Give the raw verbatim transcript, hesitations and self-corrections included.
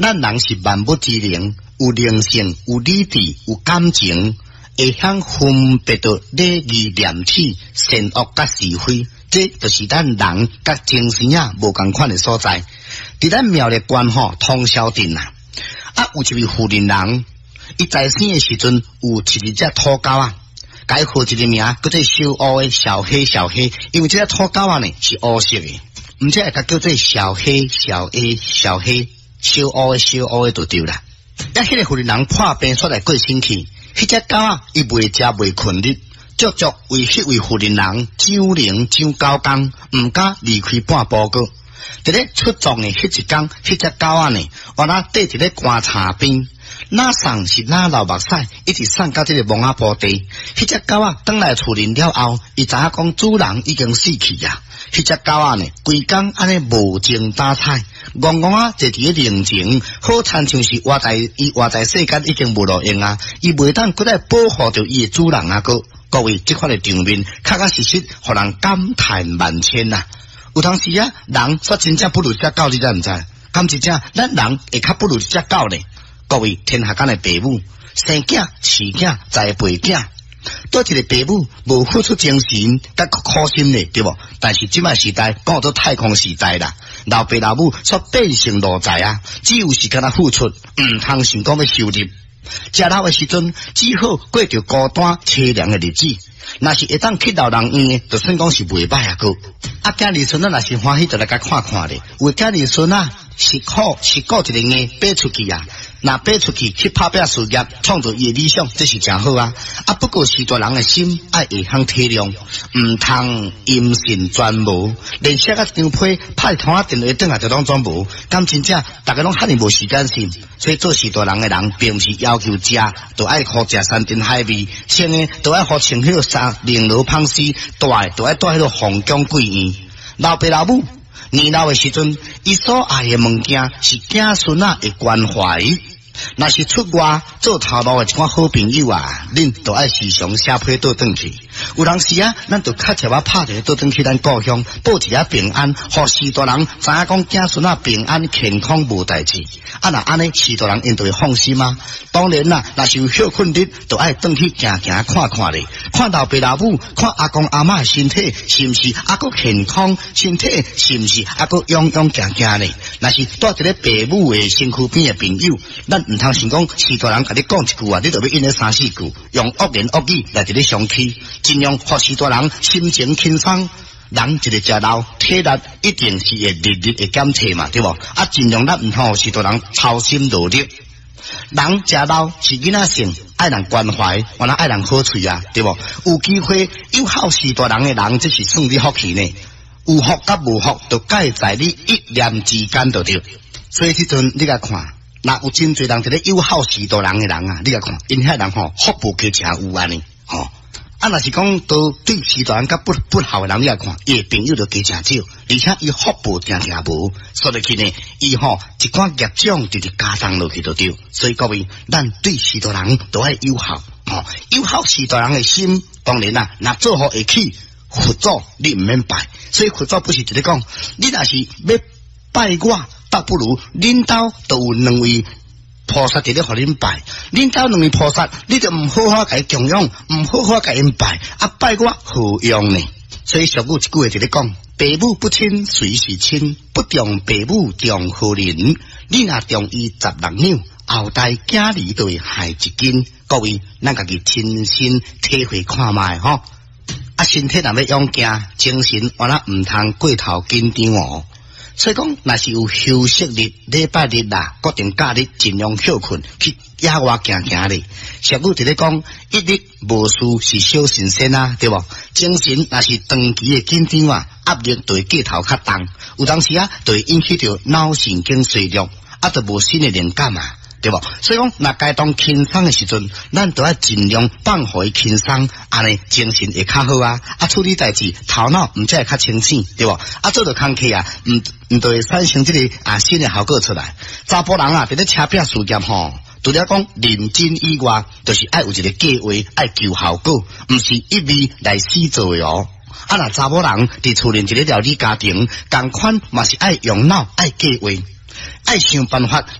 咱人是萬物之靈，有靈性、有理智、有感情，會曉分別著禮義廉恥、善惡佮是非，這就是咱人佮精神仔無仝款的所在。佇咱苗栗縣吼通霄鎮啊，啊有一位婦人人，伊在生的時陣有飼一隻土狗仔，共伊號一个名叫做小烏的小黑小黑，因為這隻土狗仔呢是烏色的，毋知會共叫做小黑小黑小黑小烏的小烏的就對啦。啊，彼个婦人人破病煞來過身去，彼隻狗仔伊袂食袂睏日，足足為彼位婦人人長靈長九工，毋敢離開半步閣。佇咧出葬的彼一工，彼隻狗仔呢，原來綴佇咧棺柴邊，若送是若流目屎，一直送到這个墓仔埔地。彼隻狗仔轉來厝裡了後，伊知影講主人已經死去啊。彼隻狗仔呢，規工按呢無精打采，戇戇仔坐佇咧靈前，好親像是活在伊活在世間已經無路用啊！伊袂當閣來保護著伊的主人啊！閣各位，這款的場面，確確實實，予人感嘆萬千啊！有當時啊，人煞真正不如這隻狗，你知毋知？敢真正，咱人會較不如這隻狗呢？各位，天下間的爸母生囝、飼囝、栽培囝，佗一个爸母無付出精神，佮苦心呢，對無？但是這擺時代講做太空時代啦，老爸老母煞變成奴才啊，只有時間來付出，毋通想講欲收入。食老的時陣，只好過著孤單淒涼的日子。若是會當去老人院的，就算講是袂䆀啊閣。啊，囝兒孫仔若是歡喜，就來共看看咧。有的囝兒孫仔是苦是顧一个硬爬出去啊，若爬出去去拍拚事業，創造伊的理想，這是誠好啊。啊，不過序大人的心愛會曉體諒，毋通音信全無，連寫個一張批拍通仔電話轉來就攏總無，敢真正逐家攏遐爾無時間性。所以做序大人的人，並毋是要求食，就愛予食山珍海味；穿的就愛予穿彼個衫翎羅芳絲，住的就愛住彼個皇宮貴院。老爸老母年老的時陣，伊所愛的物件是子孫仔的關懷。若是出外做頭路的一寡好朋友啊，恁都愛時常寫批倒轉去。有當時啊，咱就較捷仔拍電話倒轉去咱故鄉，報一下平安，予序大人知影講子孫仔平安健康無代誌。啊，若按呢，序大人𪜶就會放心啊。當然啦，若是有歇睏日，就愛轉去行行看看咧，看老爸老母，看阿公阿嬤的身體是毋是猶閣健康，身體是毋是猶閣勇勇健健咧。若是蹛佇咧爸母的身軀邊的朋友，咱毋通想講序大人共你講一句話，你就欲應咧三四句，用惡言惡語來佇咧相欺，盡量予序大人心情輕鬆。人一个食老，體力一定是會日日會減退嘛，對無？啊，盡量咱毋通予序大人操心勞力。人食老是囡仔性，愛人關懷，原來愛人好喙啊，對無？有機會友好序大人的人，這是算你福氣呢。有福佮無福，就介在你一念之間就對。所以這陣你共看，若有真濟人佇咧友好序大人的人啊，你共看，𪜶遐人吼福報加誠有按呢，吼。啊，若是講都對序大人較不不孝的人，你來看，伊的朋友就加誠少，而且伊福報定定無，所以去呢，伊吼一寡業障直直加重落去就對。所以各位，咱對序大人都愛友好，吼，友好序大人的心，當然啦，若做予會起佛祖，你毋免拜。所以佛祖不是直咧講，你若是欲拜我，倒不如恁兜都有兩位菩薩佇咧予恁拜，恁兜兩位菩薩，你就毋好好共伊供養，毋好好共𪜶拜，啊拜我何用呢？所以俗語一句話佇咧講：爸母不親，誰是親？不重爸母重何人？你若重伊十六兩，後代囝兒就會害一斤。各位，咱家己親身體會看覓吼。啊，身體若欲勇健，精神原來毋通過頭緊張哦。所以講，若是有休息日、禮拜日啦，國定假日，盡量歇睏去野外行行咧。俗語佇咧講，一日無事是小神仙啊，對無？精神若是長期的緊張啊，壓力就會過頭較重，有當時啊，就會引起著腦神經衰弱，啊，就無新的靈感啊。對無？所以講，若該當輕鬆的時陣，咱都愛盡量放予伊輕鬆，按呢精神會較好啊！啊，處理代誌頭腦毋才會較清醒，對無？啊，做著工課啊，毋毋就會產生這个啊新的效果出來。查埔人啊，佇咧車拼事業吼，除了講認真以外，就是愛有一個計劃，愛求效果，毋是一味來死做的哦。啊，若查某人佇厝內一个料理家庭，仝款嘛是愛用腦，愛計劃，愛想辦法。